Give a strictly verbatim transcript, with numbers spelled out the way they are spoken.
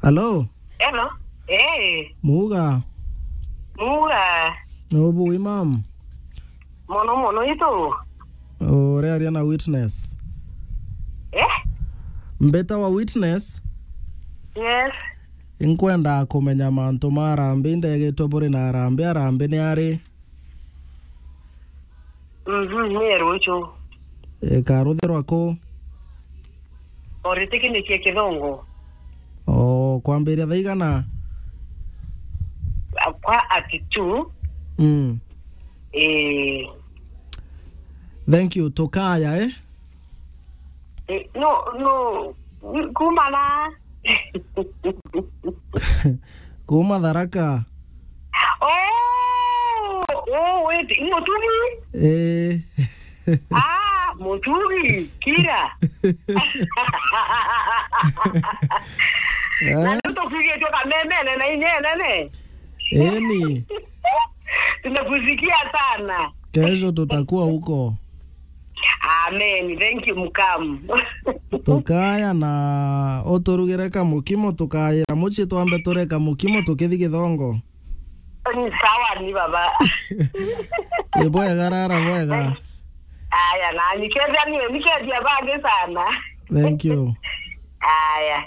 Hello? Hello? Eh. Muga? Muga? Ubu imam? Mono mono itu? Ore aria na Witness. Eh? Mbeta wa Witness? Yes. Inkwenda kumenya mantu ma arambi, ndegitwe buri na arambi, arambi ni ari? Mhm, ni ruchu. Ikaruthirwa ku? Oritikinie Kithongo. O, kwambiria thaa igana? Kwa at two. Mm. Eh. Thank you. Tukaya, eh? Eh, no, no. Kuma na? Kuma Tharaka. Oh, oh, wait, Mutugi? Eh. Ah, Mutugi, Kira. Na Eh? Ndio tukwigitwe kamemene na inyenene. Eni. Tunakusikia sana. Kesho tutakuwa huko. Amen. Thank you, Mukam. Tukaya na uturugire kamukimo, tukayira mucii twambe tureka mukimo tukithi Githongo. Ni sawa, ni baba. Ibwega, rara bwega. Aya, na nikethia ni, nikethia bangi sana. Thank you. Aya.